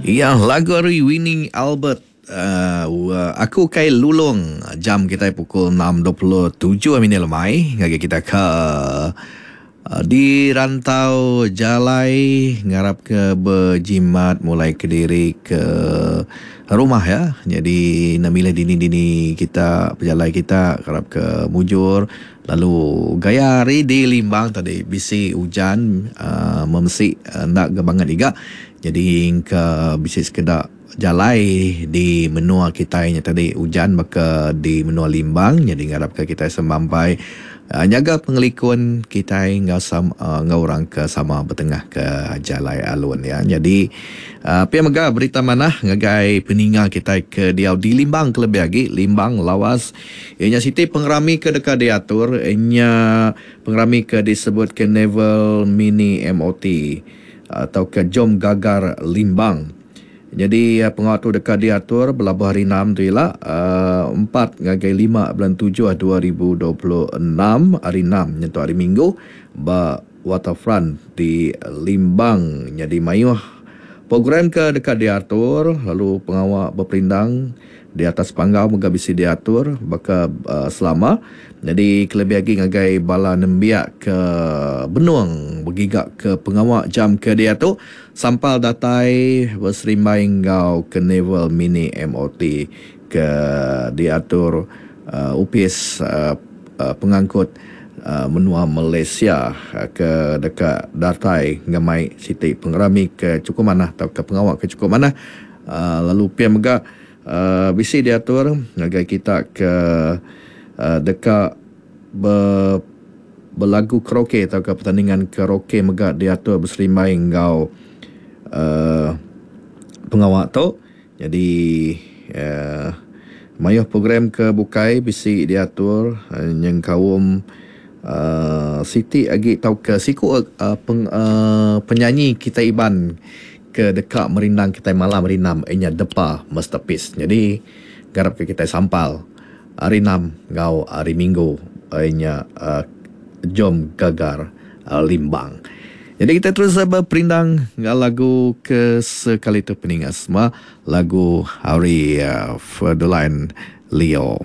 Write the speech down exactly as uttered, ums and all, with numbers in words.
Iya lagu ari Winnie Albert uh, Aku Kai Lulong. Jam kita pukul enam dua puluh tujuh minit lemai ngagai kita ke uh, di rantau jalai ngarap ke berjimat mulai ke diri ke rumah ya. Jadi nak milih dini-dini kita berjalai kita ngarap ke mujur. Lalu gaya hari di Limbang tadi bisi hujan uh, memesi uh, nak gebangat juga. Jadi ke bisi sekedak jalai di menua kita nya tadi hujan maka di menua Limbang. Jadi ngarap ke kita semampai uh, jaga pengelikun kita ngau sama uh, ngau orang ke sama bertengah ke jalai alun ya. Jadi uh, pia mega berita manah ngagai peninga kita ke diau di Limbang kelebih lagi Limbang Lawas ianya siti pengerami ke dekat diatur ianya pengerami ke disebut ke Naval Mini M O T atau ke Jom Gagar Limbang. Jadi pengawal tu dekat diatur berlabuh hari enam tu ialah uh, empat ngagai lima bulan tujuh dua ribu dua puluh enam hari enam nyentuk hari Minggu ba Waterfront di Limbang. Jadi mayuh program ke dekat diatur lalu pengawal berperindang di atas panggau mega bisi diatur baka uh, selama. Jadi kelebih lagi ngagai bala nembiak ke benung bergigak ke pengawal jam ke diatu sampal datai berserimbai ngau ke Naval Mini M O T ke diatur uh, upis uh, uh, pengangkut uh, menua Malaysia uh, ke dekat datai ngemai siti pengerami ke cukup manah atau ke pengawal ke cukup manah. Uh, lalu pia mega Uh, bisi diatur ngagai kita ke uh, dekat ber, berlagu karaoke atau ke pertandingan karaoke mega diatur berserimbai ngau uh, pengawal tu. Jadi uh, mayuh program ke bukai bisi diatur uh, nyengkaum uh, siti agi tau ke siku uh, peng, uh, penyanyi kita Iban ke dekat merindang kita malam hari enam inya Depa Masterpiece. Jadi garap ke kita sampal hari enam ngau hari Minggu inya uh, Jom Gagar uh, Limbang. Jadi kita terus berperindang ngau lagu ke sekali tu peningat semua lagu hari uh, Ferdeline Leo.